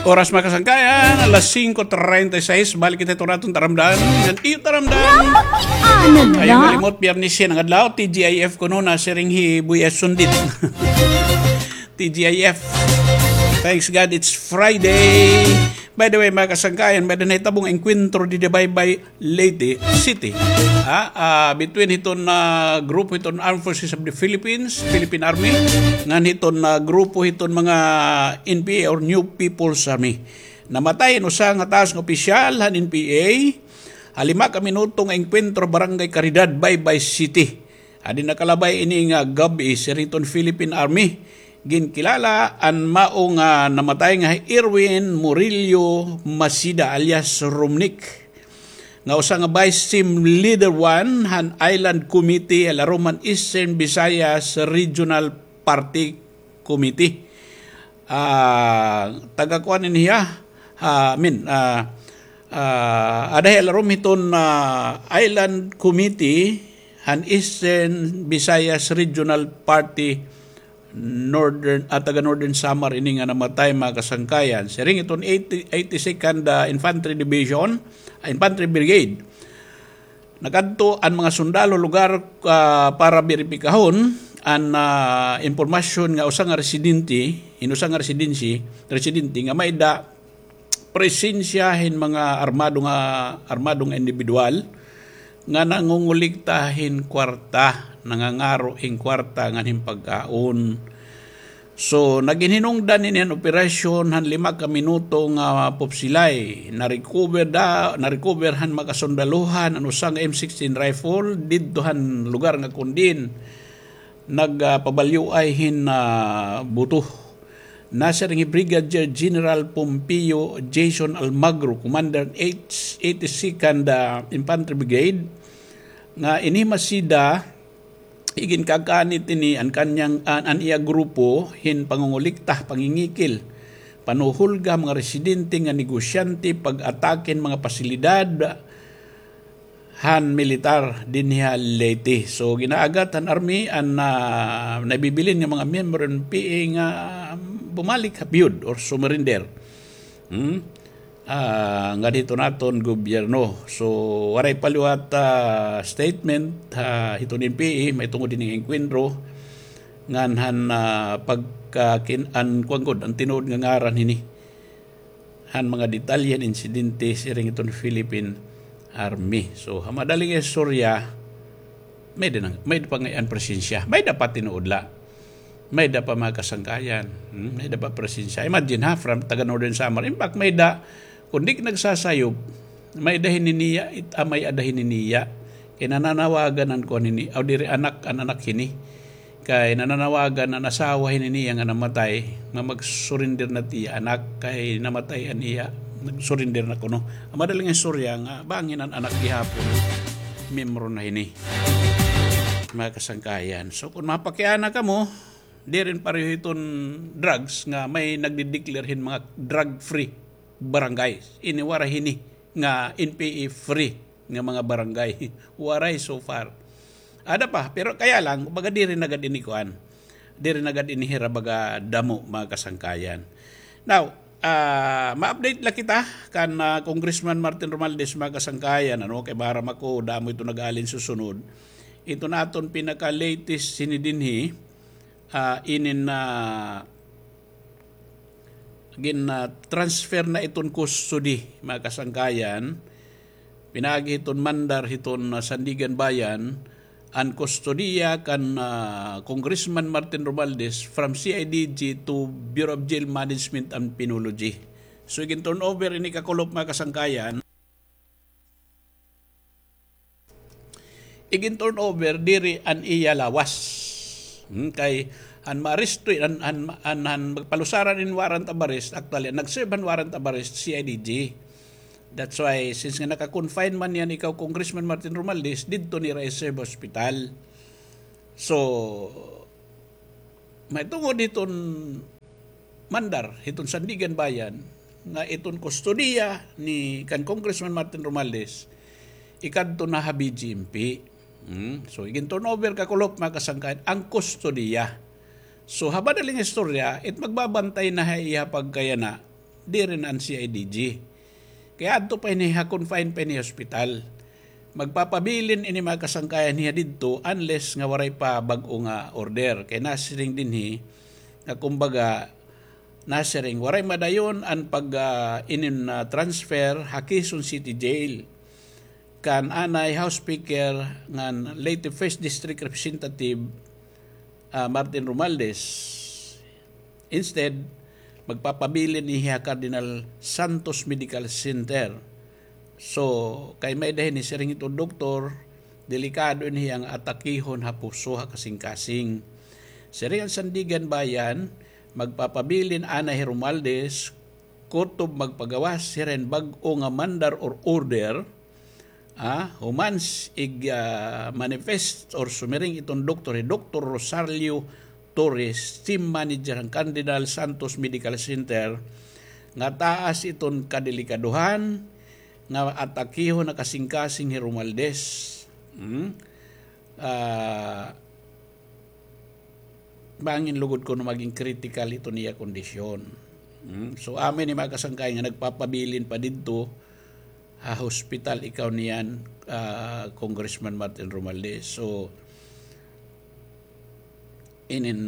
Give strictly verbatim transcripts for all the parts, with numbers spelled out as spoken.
Oras, mga kasangkayan, alas singko treinta y seis. Balik kita ito raton taramdan. Ngan iyo taramdan. Napakiana na. Ayaw kalimot, Biyernes yan ang adlaw. T G I F kuno, nasiring hi Buya Sundit. T G I F. Thanks God it's Friday. By the way, mga kasangkayan, may da nahitabo nga engkwentro didi Baybay, Leyte City. Ha? Ah, between hiton, ah, grupo hiton Armed Forces of the Philippines, Philippine Army, ngan hiton, ah, grupo hiton mga N P A or New People's Army. Namatay an usa nga taas nga opisyal han N P A ha lima ka minuto nga engkwentro Barangay Caridad, Baybay City. Adi nakalabay ini nga gab-i, siring hiton Philippine Army. Ginkilala an mao nga namatay nga hi Erwin Murillo Masida alias Romnick, nga usa nga Vice Team Leader one han Island Committee ha larom han Eastern Visayas Regional Party Committee. Ah, taga kuan ini hiya. Ah, I mean, ah, ah, ada hiya larom hiton, ah, Island Committee han Eastern Visayas Regional Party, Northern, ah, taga Northern Samar ini nga namatay, mga kasangkayan. Siring hiton eighty, eighty-second, ah, Infantry Division, ah, Infantry Brigade. Nakadto an mga sundalo lugar, ah, para beripikahon an, ah, impormasyon nga usa nga residente, hin usa nga residensi-, residente nga may-ada presensya hin mga armado nga, armado nga indibidwal nga nangongolikta hin kwarta, nangangaro hin kwarta ngan hin pagkaon. So, nagin hinungdan ini an operasyon han lima ka minuto nga pupsilay. Na-recover da, na-recover han mga kasundaluhan an usa nga M sixteen rifle didto han lugar nga kon diin nag, ah, pabalyuay hin, ah, buto. Nasiring hi Brigadier General Pompeo Jason Almagro, Commander H eighty-second, ah, Infantry Brigade, nga ini hi Masida, iginkakanit ini an kanyang, an, an iya grupo hin pangongolikta, pangingikil, panuhulga mga residente nga negosyante, pag-atake hin mga pasilidad han militar dinhi ha Leyte. So, ginaagat han army an, ah, nabibilin nga mga miyembro han N P A nga bumalik ha piyod or sumurrender. Hmm? Ah, nga dito naton gobyerno. So, waray pa liwat, ah, statement, ah, hiton N P A, mahitungod hini nga engkwentro, ngan han, ah, pagkakin-, an, kuan gud, an tinuod nga ngaran hini. Han mga detalye han insidente, siring hiton Philippine Army. So, ha madaling istorya, may-ada na, may-ada pa ngay-an presensya. May-ada pa tinuod la. May-ada pa mga kasangkayan. Hmm, may-ada pa presensya. Imagine ha, from taga Northern Samar. In fact, may-ada, kon di nagsasayop, may-ada hini niya, it-, ah, may-ada hini niya. Kay nananawagan an kuan hini, aw diri anak, an anak hini. Kay nananawagan an asawa hini niya nga namatay, nga mag-surrender na it iya anak, kay namatay an iya, nag-surrender na kuno. An madaling istorya nga, bangin an anak gihapon, miyembro na hini. Mga kasangkayan. So, kon mapakiana kamo, diri pareho hiton drugs nga may nagde-declare hin mga drug-free barangay. Ini waray hini nga N P A free nga mga barangay. Waray so far. Ada pa, pero kaya lang, kumbaga diri na gad ini kuan. Diri na gad ini hira baga damo, mga kasangkayan. Now, ah, ma-update la kita kan, ah, Congressman Martin Romualdez, mga kasangkayan, ano, kay maaram ako, damo ito nag-alin susunod. Ito na aton pinaka-latest hini dinhi, ah, inin, ah, gin, ah, transfer na iton custody, mga kasangkayan. Pinaagi hiton mandar hiton, ah, Sandiganbayan, an kustodiya kan, ah, Congressman Martin Romualdez from C I D G to Bureau of Jail Management and Penology. So, igin-turnover ini kakulop, mga kasangkayan. Igin-turnover diri an iya lawas. Hmm, kay an maaresto, an, an, an, an magpalusaran in warrant of arrest, actually, an nag-serve han warrant of arrest, C I D G. That's why, since nga naka-confine man niyan ikaw, Congressman Martin Romualdez, didto nira i-serve hospital. So, mahitungod hiton mandar hiton Sandiganbayan nga iton kustodiya ni kan Congressman Martin Romualdez, ikadto na ha B J M P. Hmm? So, igin-turnover kakulop, mga kasangkayan, an kustodiya. So, ha madaling istorya, it magbabantay na ha iya pagkayana, diri na an C I D G. Kay adto pa ini ha confine pa ini hospital. Magpapabilin ini mga kasangkayan hiya didto unless nga waray pa bag-o nga order. Kay nasiring dinhi nga kumbaga nasiring waray madayon an pag, ah, inin, ah, transfer ha Quezon City Jail kan anay House Speaker ngan Leyte First District Representative, ah, Martin Romualdez. Instead, magpapabilin ini ha Cardinal Santos Medical Center. So, kay may-ada hini siring hiton doktor, delikado ini hiya nga atakihon ha puso, ha kasingkasing. Siring an Sandiganbayan, magpapabilin anay hi Romualdez, kutob magpagawas hira hin bag-o nga mandar or order, ah, human s-, ig, ah, manifest or sumiring iton doktor, hi Doktor Rosario Torres, team manager han Cardinal Santos Medical Center, nga taas iton kadelikadohan, nga atakihon ha kasingkasing hi Romualdez. Hmm? Ah, bangin lugod kuno maging critical iton iya kondisyon. Hmm? So, amo ini mga kasangkayan nga nagpapabilin pa didto ha hospital ikaw niyan, ah, Congressman Martin Romualdez. So, inin,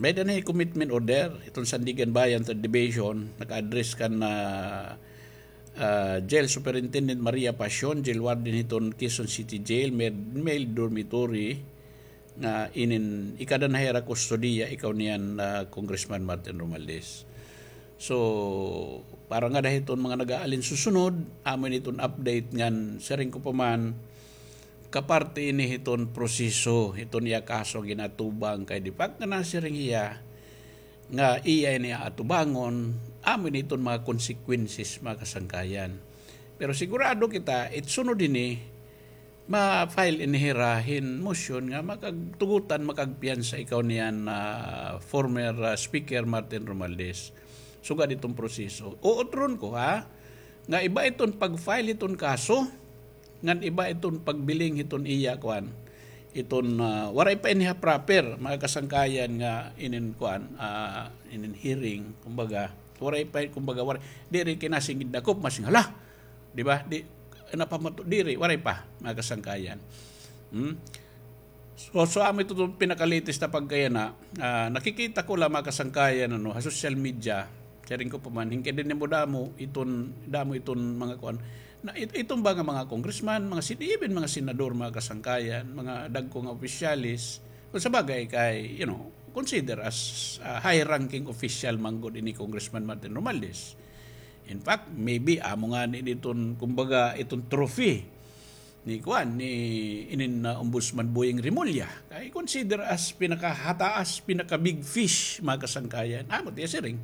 may-ada na hi commitment order, iton Sandiganbayan Third Division, naka-address kan, ah, ah, Jail Superintendent Maria Pasion, Jail Warden hiton Quezon City Jail, male, male dormitory, nga inin ikada na hira kustodiya ikaw niyan, ah, Congressman Martin Romualdez. So, para ngada hiton mga nag-aalin susunod, amo ini iton update ngan siring ko pa man, kaparte ini hiton proseso, hiton iya kaso ginatubang kay the fact nga nasiring hiya nga iya ini aatubangon, amo ini iton mga consequences, mga kasangkayan. Pero sigurado kita, it sunod ini, ma-file ini hira hin motion nga makagtugutan, makagpiyansa ikaw niyan, ah, former, ah, Speaker Martin Romualdez. Sugad iton proseso. Uutron ko, ha, nga iba iton pag-file iton kaso, ngan iba iton pagbiling hiton iya, kuan, iton, ah, waray pa ini ha proper, mga kasangkayan nga inin, kuan, ah, inin hearing, kumbaga, waray pa, kumbaga, waray, diri kinasingid dakop, masing hala, di ba? Di, napamato, diri, waray pa, mga kasangkayan. Hmm? So, so amo ito, ito pinaka-latest na pagkayana, ah, nakikita ko la, mga kasangkayan, ano, ha social media, sharing ko pa man, hingkay dinhi mo damo iton, damo iton mga kuan. Na, it-, iton ba nga mga congressman, mga sin-, even mga senador, mga kasangkayan, mga dagko nga opisyalis, kung sa bagay kay, you know, consider as, ah, high-ranking official man gud ini Congressman Martin Romualdez. In fact, maybe, amo ngani iton, kumbaga, iton trophy ni kuan, ni inin, ah, Ombudsman Boying Remulla. Kay consider as pinakahataas, pinaka-big fish, mga kasangkayan. Amo it iya siring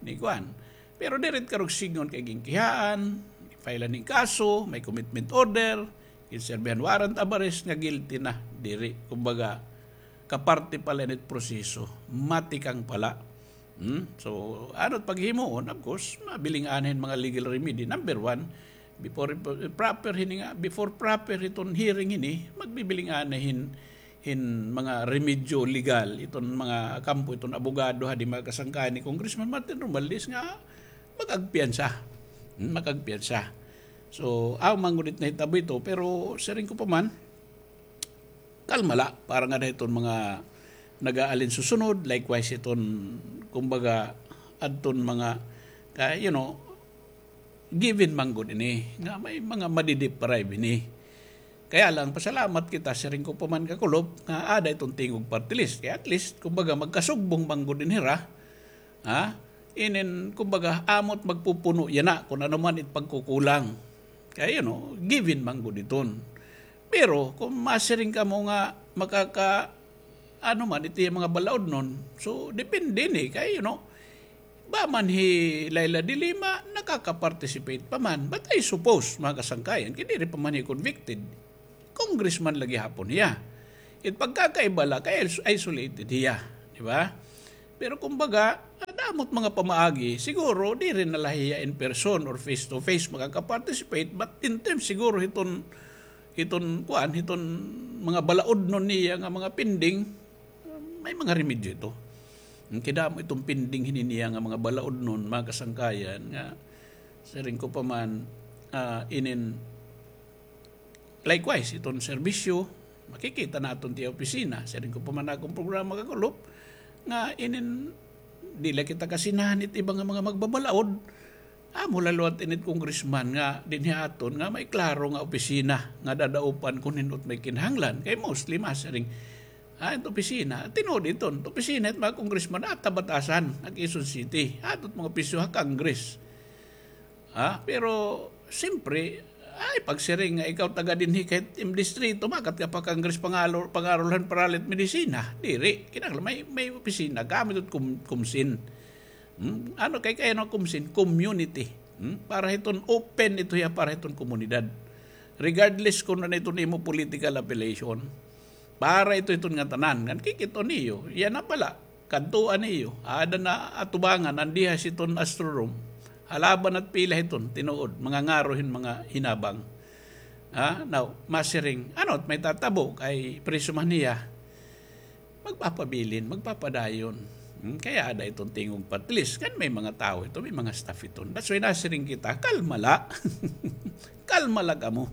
ni kuan. Pero diri it karuyag sidngon kay ginkihaan, file-an hin kaso, may commitment order, ginserbihan warrant of arrest nga guilty na. Diri, kumbaga, kaparte pa la ini it proseso. Matikang pa la. Hmm? So, ano it paghimuon, of course, mabiling-an hin mga legal remedy. Number one, before proper hini nga, before proper iton hearing hini, magbibiling-an hin, hin mga remedyo legal, iton mga kampo, iton abogado, hadi mga kasangkayan ni Congressman Martin Romualdez nga makagpiyansa. Hmm, makagpiyansa. So, aw, man gud it nahitabo ito, pero siring ko pa man, kalma la, para ngada hiton mga nag-aalin susunod, likewise iton, kumbaga, adton mga, kay, you know, given man gud ini, nga may mga madideprive ini. Kaya lang, pasalamat kita, siring ko pa man kakulop, nga ada iton Tingog Party List. Kay at least, kumbaga, magkasugbong man gud ini hira, ha? Inin, kumbaga, amo it magpupuno yana kun ano man it pagkukulang. Kay, you know, given man gud iton. Pero kun masiring kamo nga makaka-, ano man, ito iya mga balaodnon, so, depende ini. Kay, you know, ba man hi Leila de Lima, nakaka-participate pa man. But I suppose, mga kasangkayan, kay diri pa man hiya convicted. Congressman la gihapon hiya. It pagkakaiba la kay is-, isolated hiya, di ba? Pero kumbaga, damo it mga pamaagi, siguro diri na la hiya in person or face to face makaka-participate, but in terms siguro hiton, hiton kuan, hiton mga balaodnon niya nga mga pending, may mga remedyo ito. Kay damo iton pending hini niya nga mga balaod nun, mga kasangkayan, nga siring ko pa man, ah, inin, likewise, iton serbisyo, makikita naton tiya opisina. Siring ko pa man akon programa kakulop, nga inin, diri la kita kasinahan it iba nga mga magbabalaod. Amo la liwat ini it congressman nga dinhi aton nga may klaro nga opisina nga dadaupan kon hin-o it may kinahanglan. Kay mostly masiring, ah, it opisina, tinuod iton, it opisina it mga congressman, ah, ha batasan, ha Quezon City. Ato it mga opisyo ha Congress. Ha? Pero, siyempre, ay, pagsiring nga ikaw taga dinhi kahit im distrito, makat ka pa Congress pangarol-, pangarolhan paralit medisina. Diri, kinahanglan may, may opisina, gamit it kum-, kumsin. Hmm? Ano kay, kay ano kumsin? Community. Hmm? Para hiton open ito hiya, para hiton komunidad. Regardless kung ano iton imo political affiliation. Para ito hiton ngatanan. Ngan kikit-on niyo. Yana bala. Kadtuan niyo. Aada na atubangan, an dihas hiton Astro Room. Halaban at pila hiton, tinuod. Mga ngaro hin mga hinabang. Ha? Now, masiring. Ano, it may tatabo, kay preso man hiya. Magpapabilin, magpapadayon. Hmm, kay aada iton tingog pa, at least, kan may mga tawo ito, may mga staff ito. That's why nasiring kita, kalma la. Kalma la kamo.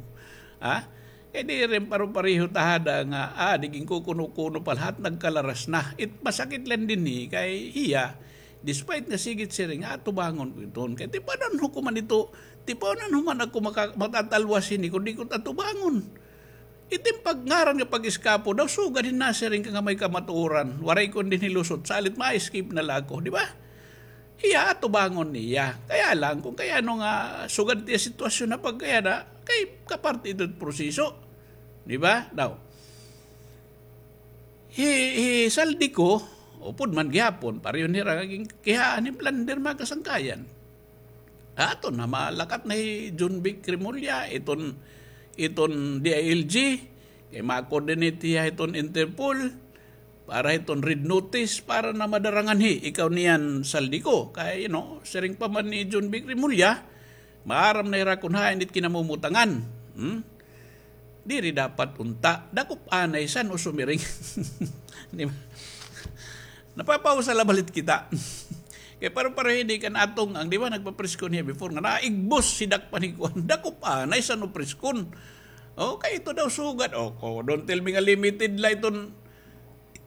Ha? Kay diri paro-pareho ta hada nga, ah, di ginkukuno-kuno pa la, nagkalaras na. It masakit la dinhi, kay hiya, despite nga sige it siring, atubangon ko iton. Kay tipanon ho ko man ito, tipanon ho man ako maka-, matatalwas hini, kon di ko atubangon. It im pagngaran nga pag-eskapo daw, sugad hin nasiring ka nga may kamatuoran. Waray kon dinhi lusot, salit ma-escape na la ako, di ba? Hiya, atubangon niya. Kaya lang, kon kay ano nga, sugad it iya sitwasyon na pagkayana, kay kaparte ito it proseso. Di ba? Daw. Hi, hi Zaldy Co, upod man gihapon, pareho nira nga ginkihaan hin plunder, mga kasangkayan. Aton na, malakat na hi Jonvic Remulla, iton, iton D I L G, kay ma-coordinate hiya hiton Interpol, para hiton red notice, para na madara nganhi ikaw niyan Zaldy Co. Kay, you know, siring pa man ni Jonvic Remulla, maaram na hira kon hain it kinamutangan. Hmm? Diri dapat unta. Dakop anay san o sumiring. Di ba? Napapausa la balit kita. Kay paro-pareho hini kan Atong Ang, di ba, nagpapreskon hiya before nga naigbos hi Dak Paniguan. Dakop anay san o preskon. O, kay ito daw sugad. O, ko, don't tell me nga limited la iton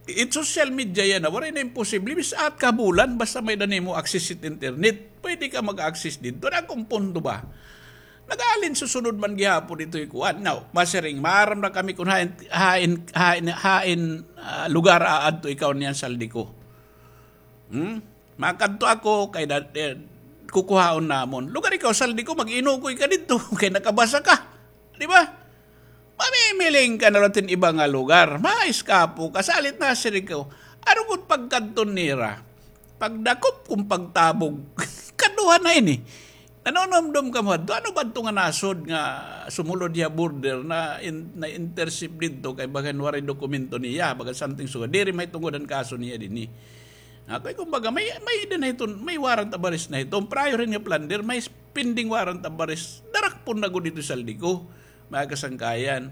It social media yana, waray na imposible. Bisan kabulan, basta may-ada nimo access it internet. Pwede ka mag-access didto. An akon punto ba? Nag-aalin susunod man gihapon ito hi kuan. Now, masiring, maaram na kami kon hain, hain, hain, hain, ah, lugar aadto ikaw niyan Zaldy Co. Hmm? Makadto ako kay da-, eh, kukuhaon namon. Lugar ikaw Zaldy Co, mag-inukoy ka didto kay nakabasa ka. Di ba? Mamimiling ka na la hin iba nga lugar. Maeskapo ka, salit nasiring ko. Ano gud pagkadto nira? Pagdakop kon pagtabog. Kaduha na ini. Nanunumdom kamo hadto. Ano ba adto nga nasod nga sumulod hiya border na in-, na-intercept didto kay bagan waray dokumento niya, bagan something sugad. Diri mahitungod an kaso niya dinhi. Kay kumbaga, may, may-ada na hiton, may warrant of arrest na hiton. Prior hin nga plunder, may pending warrant of arrest. Darakpon na gud ito Zaldy Co, mga kasangkayan.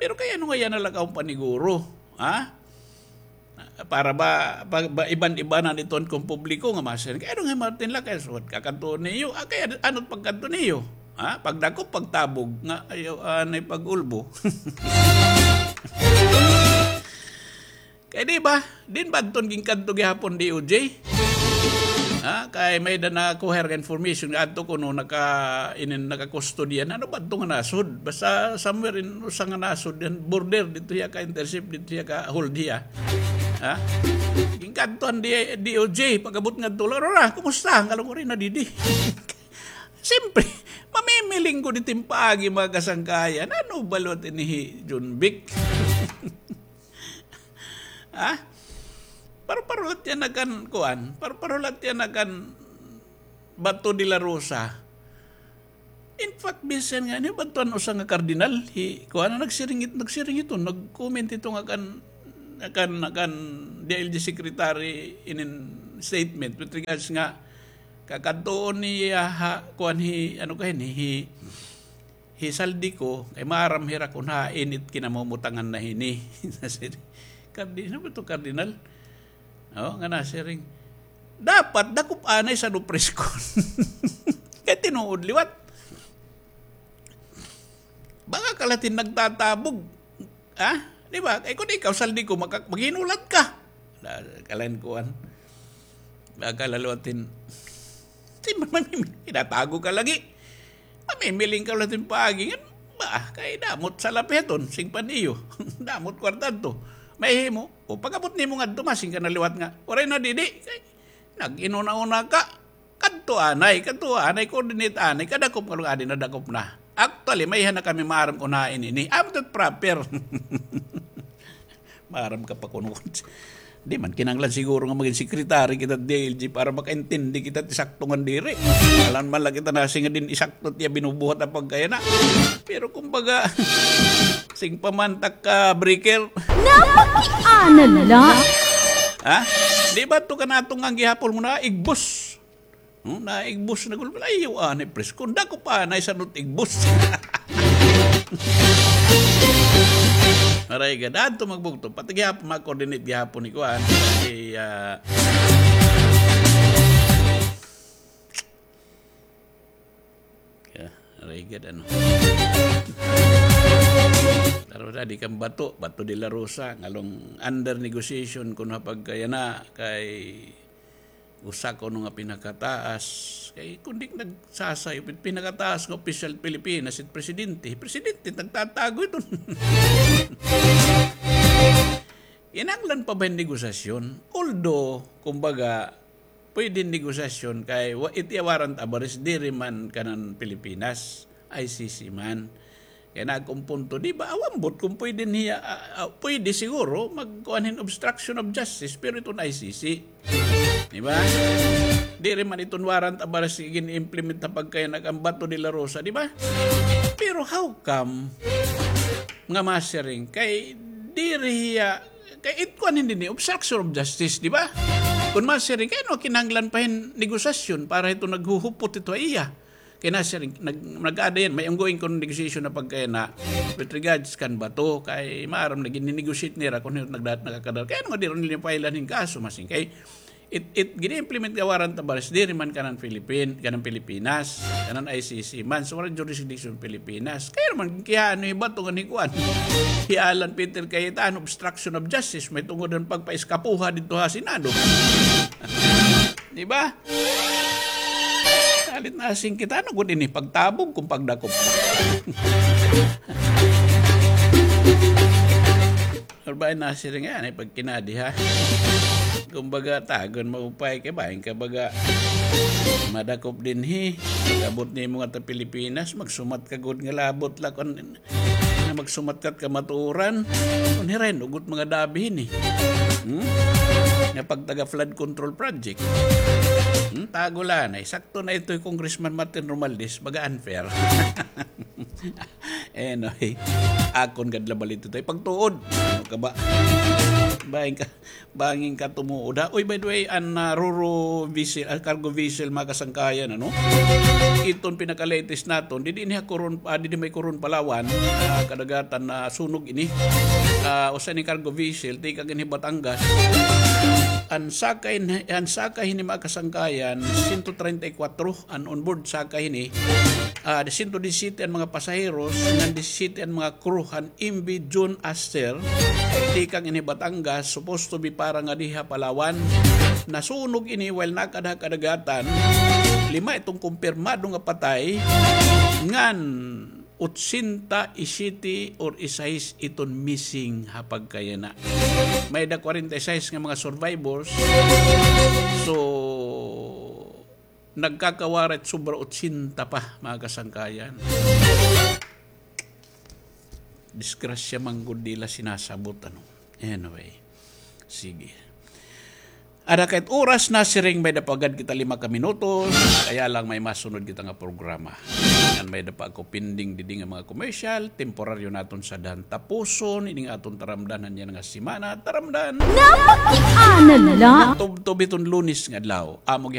Pero kay ano nga yana la kaon paniguro, ha? Para ba, ba, ba iban-ibanan iton kon publiko nga masiring. Kay ano nga Martin la, kay suwat ka kadto niyo. Ah, kay ano, ano pagkadto niyo? Ha? Pagdakop, pagtabog, nga ayaw, ah, anay pag-ulbo. Kay di ba, diin ba adton ginkadto gihapon D O J? Ha, kay may-ada nakuha nga information nga adto kuno naka-, inin, nakakustodiya. Ano ba adto nga nasod? Basta somewhere in usa nga nasod diyan, border, didto hiya ka-intercept, didto hiya ka-hold hiya. Ha? Ginkadto an D-, D O J, pag-abot ngadto, "Laro na, kumusta?" Ang kalunguri na didi. Siyempre, mamimiling ko dito yung paagi, mga kasangkayan. Ano ba liwat ini hi Jonvic? Ha? Paro-paro la it iya nga kan, kuan, paro-paro la it iya nga kan Bato de la Rosa. In fact, bisan nga ini, Bato, an usa nga kardinal, hi, kuan, nagsiring it-, nagsiring ito, nag-comment ito nga kan, kan, kan D I L G secretary inin statement with regards nga kakadtuon niya ha, kuan, hi, ano ka hini, hi, hi Zaldy Co, kay maaram hira kon hain it kinamumutangan na hini. Kardinal ba ito, kardinal? Oh, nga nasiring. Dapat dakop anay san-o preskon. Kay tinuod liwat. Baka ka la it in nagtatabog. Ha? Di ba? Kay kun ikaw, saldi ko, maka-, maghinulat ka. Da-, kalan kuan. Baka la liwat it in, di man mamimili, tinatago ka lagi. Mamimiling ka liwat it in paagi. Ngan, ba, kay damo it salapi hiton, singpa niyo. Damo it kwarta adto. Mahimo. O, pag-abot nimo ngadto, masing ka na liwat nga, waray na didi. Kay, nag-inuna-una ka. Kadto anay, kadto anay, coordinate anay, kadakop nga lugar, adi nadakop na. Actually, may-ada na kami maaram kun hain ini. Amo it proper. Maaram ka pa kuno. Di man kinahanglan siguro nga magin secretary kita D I L G para makaintindi kita it sakto ngan diri. Alangan man la kita nasiring nga diri sakto it iya binubuhat ha pagkayana. Pero kumbaga, singpa man ta ka breaker. Napakiana la. Ha? Di ba ito kan aton nga gihapon mo na igbos? Hmm, naigbos na gud. Ayaw anay preskon. Dakop anay san-o it igbos. Aray gad, adto magbugto. Pati gihapon, ma-coordinate gihapon ni kuan. Si, ah, yeah, aray gad, ano. Pero na, di kan Bato, Bato de la Rosa, ngan la under negotiation kuno ha pagkayana kay usa kuno nga pinakataas. Kay kun di nagsasayop, pinakataas nga opisyal Pilipinas, it presidente. Presidente, nagtatago iton. Kinahanglan pa ba hin negosasyon? Although, kumbaga, pwede negosasyon kay wa-, it iya warrant of arrest, diri man kanan Pilipinas, I C C man. Kay nag-umpunto, di ba, aw ambot kun pwede niya, ah, ah, pwede siguro magkuan hin obstruction of justice, pero iton I C C. Di ba? Diri man iton warrant of arrest gin-implement ha pagkayana kan Bato de la Rosa, di ba? Pero how come nga masiring? Kay diri hiya, kay it kuan hin dinhi, obstruction of justice, di ba? Kun masiring, kay ano kinahanglan pa hin negosasyon para hito naghuhupot hito ha iya? Kay nasiring, nag-, nag-aada yan, may ongoing kuno negotiation ha pagkayana with regards kan Bato, kay maaram na gin-negotiate nira kun hin-o nagda-, nakakadara. Kay ano nga diri nira file-an hin kaso, masiring, kay it, it, gin-implement nga warrant of arrest, diri man kanan Philippine, kanan Pilipinas, kanan I C C man, so waray jurisdiction Pilipinas. Kay ano man, kay ano hi Bato ngan hi kuan, hi Alan Peter Cayetano, obstruction of justice, mahitungod han pagpa-eskapoha didto ha Senado. Di ba? Salit nasiring kita, ano gud ini, pagtabog kun pagdakop. Pero ba nasiring nga, ano, pagkinadi, ha? Kumbaga, tagon maupay kay bahin ka baga madakop dinhi. Pag-abot nimo ngadto ha Pilipinas, magsumat ka gud nga labot la kun nga magsumat ka kamatuoran. Kun hira hin ugot mga dabi hini. Hmm? Nga pagtaga flood control project. Hmm? Tago la anay. Sakto na ito hi Congressman Martin Romualdez. Baga unfair. Anyway, akon gad la bala ito tay pagtuod. Ano ka ba? Bahin ka. Bangin ka tumuod, ha? Uy, by the way, an, ah, Roro vessel, ah, cargo vessel, mga kasangkayan, ano? Iton pinaka-latest naton, didi ini ha Coron, ah, didi may Coron, Palawan, ah, kadagatan, nasunog ini. Ah, usa ini cargo vessel, tikang ini Batangas. An sakay, an sakay hini, mga kasangkayan, sento treinta y kuwatro, an onboard sakay hini. Ah, sento disisiyete an mga pasaheros, ngan disisiyete an mga crew han M V June Aster, tikang ini Batangas, supposed to be para ngadi ha Palawan. Nasunog ini while nakad-an ha kadagatan. Lima iton kumpirmado nga patay, ngan otsenta y siyete or y sais iton missing ha pagkayana. May-ada kwarenta y sais nga mga survivors. So, nagkakawaray sobra otsenta pa, mga kasangkayan. Disgrasya man gud, di la sinasabot, ano. Anyway, sige. Ada kay it oras, nasiring may-ada pa gad kita lima ka minutos, kaya lang may masunod kita nga programa. Ngan may-ada pa ako pending didi nga mga commercial, temporaryo naton sadhan tapuson ini nga aton taramdan han yana nga semana, taramdan. Napakiana la. Tubtob hiton Lunes nga adlaw. Amo